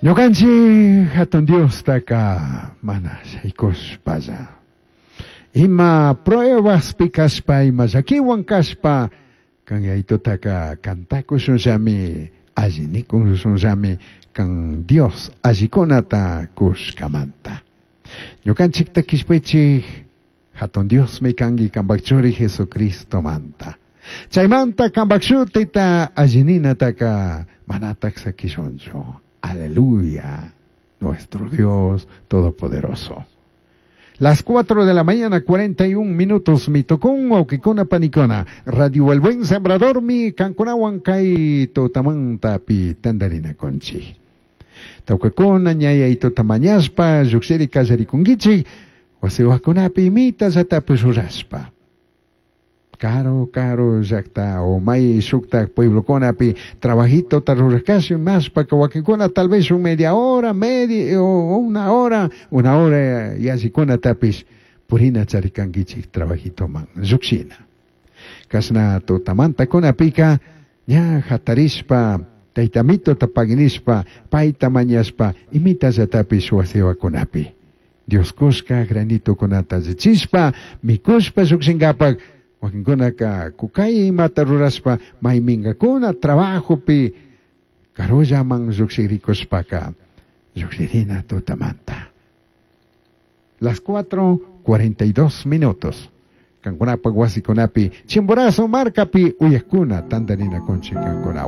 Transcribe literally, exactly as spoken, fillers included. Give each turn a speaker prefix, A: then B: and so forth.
A: Ñukanchik hatun Diostaka mana shaykushpalla. Ima pruebaspi kashpa, ima llakiwan kashpa, kan Yayitutaka kantakushunllami, alli nikushunllami, kan Dios allikunata kushkamanta. Ñukanchikta kishpichik hatun Diosmi kanki kanpak churi Jesucristomanta. Chaymanta kanpak shutita allininataka manatak sakishunchu. Aleluya, nuestro Dios Todopoderoso. Las cuatro de la mañana, cuarenta y un minutos, mi tocón, wawqikuna panikuna. Radio El Buen Sembrador, mi kankunawan kay tutamantapi tandarinakunchik. Tawkakuna, ñaya tutamañashpa, llukshiri kallarikunkichik, wasiwakunapi imita llatapish rurashpa. Caro, caro, llakta, o may shuktak pueblokunapi trabajito rurakashi mashpa wakinkuna tal vez un media hora, media, o una hora, una hora yallikunatapish purina charikankichik trabajitoman llukshina. Kashna tutamantakunapika ña hatarishpa taytamitota paginishpa payta mañashpa imita llatapish wasiwakunapi. Dios kushka granitokunata allichishpa mikushpa llukshinkapak wakinkunaka kukay imata rurashpa mayminkakuna trabajopi karullaman llukshirikushpaka llukshirina tutamanta. Las cuatro cuarenta y dos minutos. Kankunapak wasikunapi Chimborazo markapi uyakuna tantarinakunchik kankunawan.